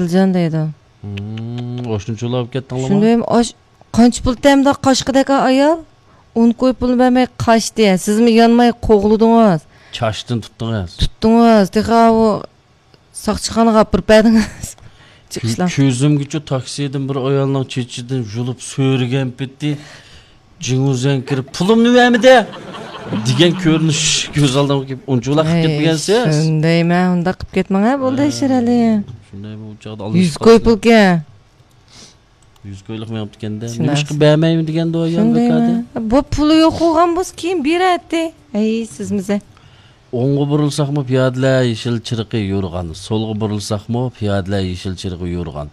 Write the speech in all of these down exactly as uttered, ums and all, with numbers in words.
ئادىلجان دەيدۇ. ھىم، ئاشۇنچىلا ئاپ كەتتىڭلارمۇ؟ شۇندايمۇ ئاش-، قانچە پۇل تەمدە قاشقىدەك ئايال؟ ئون كوي پۇل بەرمەي قاچتى. سىزمۇ يانماي قوغلىدىڭىز. چاچتىن تۇتتىڭىز. تۇتتىڭىز. تېخى ئاۋۇ ساقچىخانىغا ئاپىرىپ بەردىڭىز. چىقىشلا. كۆ-، كۆزۈمگىچۇ تاكسىدىن بىر ئايالنىڭ چېچىدىن يۇلۇپ سۆرىگەن پېتى جىڭ ۋۇزيەن كىرىپ، «پۇلۇمنى بەرمىدى!» دېگەن كۆرۈنۈش كۆز ئالدىمغا كېلىپ، ئۇنچىۋالا قىلىپ كەتمىگەنسىز. شۇندايمەن، ئۇنداق قىلىپ كەتمەڭ ھە، بولدى، ھە، شىرئەلى. شۇندايمۇ ئۇ چاغدا يۈز كوي پۇلكەن. يۈز كويلۇق مېڭىپتىكەندە. نېمىشقا بەرمەيمەن دېگەندۇ ئايال بۇ كادە. بۇ پۇلى يوق بولغان بولسا كېيىن بېرەتتى. ھەي، سىزمىزە. ئوڭغا بۇرۇلساقمۇ پىيادىلەر يېشىل چىرىقى يورۇغان، سولغا بۇرۇلساقمۇ پىيادىلەر يېشىل چىرىقى يورۇغان.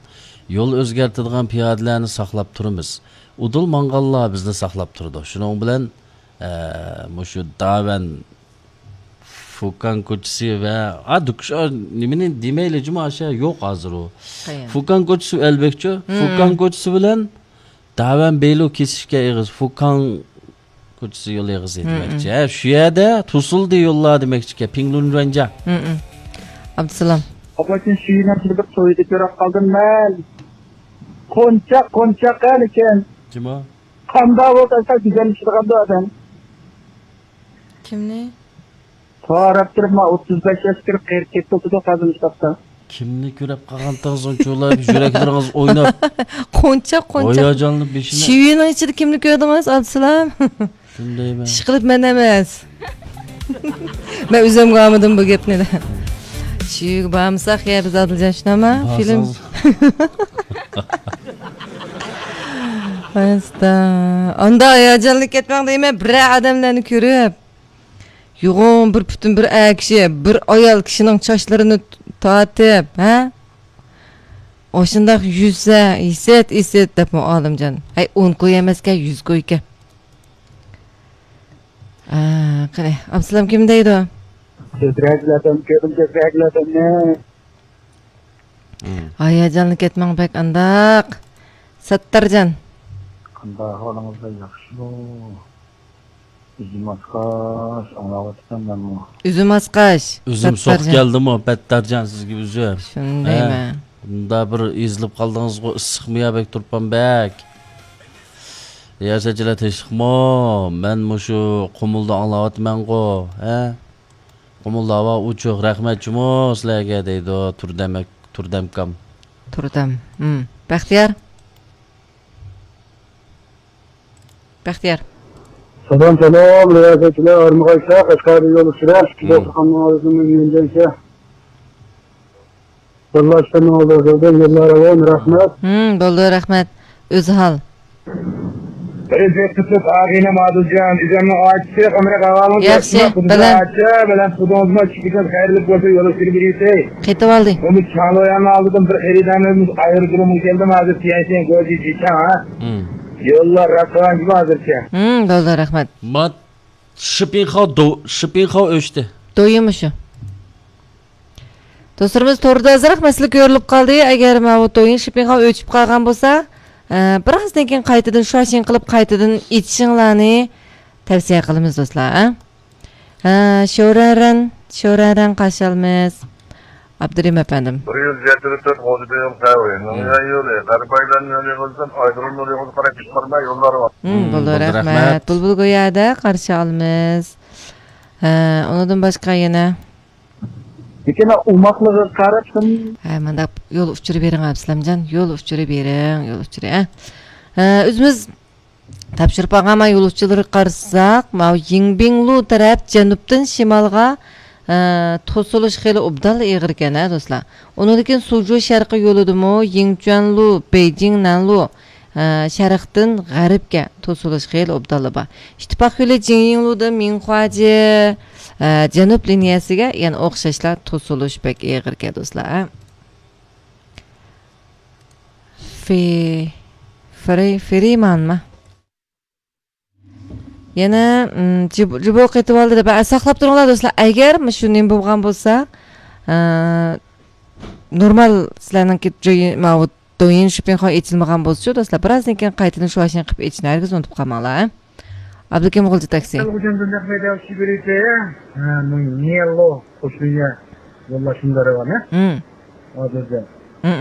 يول ئۆزگەرتىدىغان پىيادىلەرنى ساقلاپ تۇرىمىز. ئۇدۇل ماڭغانلار بىزنى ساقلاپ تۇرىدۇ. شۇنىڭ بىلەن، ئە، مۇشۇ داۋەن فۇكان كوچىسى ۋە، ئا، دۇكۇش، ئا، نېمىنى دېمەيلى جۇمۇ، ئاشۇ يوق ھازىر ئۇ. قەيەر؟ فۇكان كوچىسى ئەلبەكچۇ. ھىم. فۇكان كوچىسى بىلەن داۋەن بېيلۇ كېسىشكەن ئېغىز، فۇكان كوچىسى يول ئېغىزى دېمەكچى. ھە، شۇ يەردە توسۇلدى يوللار دېمەكچىكەن، پىڭلۇنرۇەنجيا. ئابدۇسالام. ئاپا، شۇ يىلنىڭ بىر تويىدا كۆرۈپ قالدىم مەن. قونچاق، قونچاق قانىكەن. كىم ئۇ؟ قانداق بولسا گۈزەللىشىدىغاندۇ ئادەم. كىمنى؟ سوراپ تۇرۇپ، ما ئوتتۇز بەش ياش كىرىپ قېرىپ كەتتى، ئوتتۇز توققۇزىنچى تاپتا. كىمنى كۆرۈپ قالغانتىڭىز ئۇنچىۋالا يۈرەكلىرىڭىز ئويناپ؟ قونچاق، قونچاق. ھاياجانلىنىپ بېشىنى. شىۋىنىڭ ئىچىدە كىمنى كۆردىڭىز، ئابدۇسالام؟ شۇندايمەن. ئىشقىلىپ مەن ئەمەس. مەن ئۆزۈمگە ئالمىدىم بۇ گەپنى. شىۋىگە بارمىساق يا بىز ئادىلجان شۇنداقمۇ؟ فىلىم. بارساڭىز. ئاستا. ئاندا ھاياجانلىنىپ كەتمەڭ دەيمەن، بىرەر ئادەملەرنى كۆرۈپ. يوغان بىر پۈتۈن بىر ئەر كىشى، بىر ئايال كىشىنىڭ چاچلىرىنى تارتىپ، ھە؟ ئاشۇنداق يۈرسە، ھېسەت، ھېسەت دەپمۇ ئالىمجان. ھەي، ئون كوي ئەمەسكەن، يۈز كويكەن. ئا، قېنى، ئابدۇسالام كىم دەيدۇ؟ سۆزرەكلەردىن كۆرۈم، سۆزرەكلەردىن. ھاياجانلىنىپ كەتمەڭ بەك ئانداق. ساتتارجان. قانداق ئەھۋالىڭىزلار، ياخشىمۇ؟ ئۈزۈم ئاسقاش ئاڭلاۋاتىمەن مەنمۇ. ئۈزۈم ئاسقاش. ئۈزۈم سوق كەلدىمۇ، بەتتارجان سىزگە ئۈزۈم. شۇندايمەن. ھە، بۇندا بىر ئېزىلىپ قالدىڭىزغۇ، ئىسسىقمۇ يا بەك تۇرپان بەك. رىياسەتچىلەر تىنچلىقمۇ؟ مەن مۇشۇ قۇمۇلدا ئاڭلاۋاتىمەنغۇ، ھە؟ قۇمۇلدا ھاۋا ئوچۇق، رەھمەت جۇمۇ سىلەرگە دەيدۇ تۇردەم ئاك-، تۇردەمكام. تۇردەم. ھىم. بەختىيار. بەختىيار. سالام، سالام، رىياسەتچىلەر، ئارمىغاچلار، قەشقەردىن يول ئۇچۇرى، ئىككى دوختۇرخانىنىڭ ئالدىدىن يۈندەنچە. يوللاشتىن ئالدىن يوللار راۋان، رەھمەت. ھىم، بولدى، رەھمەت. ئۆزھال. بىرىنچى قىسىم ئاغىنەم ئادىلجان، ئۆزۈمنىڭ ئاچىسى، ئەمرى قاغانىڭ ياخشى، بەلەن. ئاچا، بەلەن پۇدۇڭىزمۇ چىقىپ خەيرلىك بولسا يول ئۈستىگە بېرىسەي. قېتىۋالدى. بۇ چاڭلوياننىڭ ئالدىدىن بىر خېرىدارىمىز ئايرودرومغا كەلدىم، ھازىر تيەنشەن گوجى جىچاڭ، ھە؟ ھىم. يوللار راستىغان گېپى ھازىرچە. ھىم، بولدى، رەھمەت. مات شىپىنخاۋ دو-، شىپىنخاۋ ئۆچتى. دويىمۇ شۇ. دوستلىرىمىز، توردا ئازراق مەسىلە كۆرۈلۈپ قالدى. ئەگەر ماۋۇ دويىن شىپىنخاۋ ئۆچۈپ قالغان بولسا، ئە، بىرازدىن كېيىن قايتىدىن شۇاشىڭ قىلىپ، قايتىدىن ئېچىشىڭلارنى تەۋسىيە قىلىمىز، دوستلار، ھە؟ ھە، شورەرەن، شورەرەن قارشى ئالىمىز. ئابدۇرېھىم ئەپەندىم. بىر يۈز يەتتە تۆت غوجىبېيىم قەۋى، نىڭيەن يولى، غەربىي ئايلان يولى يولىدىن ئايرىم يولى يولىغا قاراپ چىقارماي يوللار بار. ھىم، ھىم، بولدى، بولدى، رەھمەت. رەھمەت. بۇلبۇل گويادا قارشى ئالىمىز. ھە، ئۇنىڭدىن باشقا يەنە؟ لېكىن ئوماقلىقىغا قاراپسەن. ھە، مانداق يول ئۇچۇرى بېرىڭ، ئابسالامجان. يول ئۇچۇرى بېرىڭ، يول ئۇچۇرى، ھە. ھە، ئۆزىمىز تاپشۇرۇپ ئالغان يول ئۇچۇرلىرىغا قارىساق، ماۋۇ يىڭبىڭلۇ تەرەپ جەنۇبتىن شىمالغا، ئە، توسۇلۇش خېلى ئوبدانلا ئېغىركەن، ھە، دوستلار. ئۇنىڭدىن كېيىن سۇجۇ شەرقىي يولىدىمۇ يىڭچۈەنلۇ، بېيجىڭ نەنلۇ، ئە، شەرقتىن غەربكە توسۇلۇش خېلى ئوبدانلا بار. ئىتتىپاق يولى جىڭيىڭلۇدىن مىڭخۇاجى، ئە، جەنۇب لىنىيەسىگە يەنە ئوخشاشلا توسۇلۇش بەك ئېغىركەن، دوستلار، ھە. فې-، فرې-، فرېمانما؟ يەنە، ئىم، جىب-، جىبو قېتىۋالدى دەپ، ئە، ساقلاپ تۇرۇڭلار دوستلار. ئەگەر مۇشۇ نېمە بولغان بولسا، ئە، نورمال سىلەرنىڭكى جوي-، ماۋۇ دويىن شىپىنخاۋ ئېچىلمىغان بولسىچۇ دوستلار، بىرازدىن كېيىن قايتىدىن شۇاشىڭ قىلىپ ئېچىشنى ھەرگىز ئۇنتۇپ قالماڭلار، ھە. ئابلىكىم غۇلجا تاكسى. ھە، مۇ نىيەللو قوشۇنى يوللاشىمدا رەۋانە. ھىم. ھازىردا.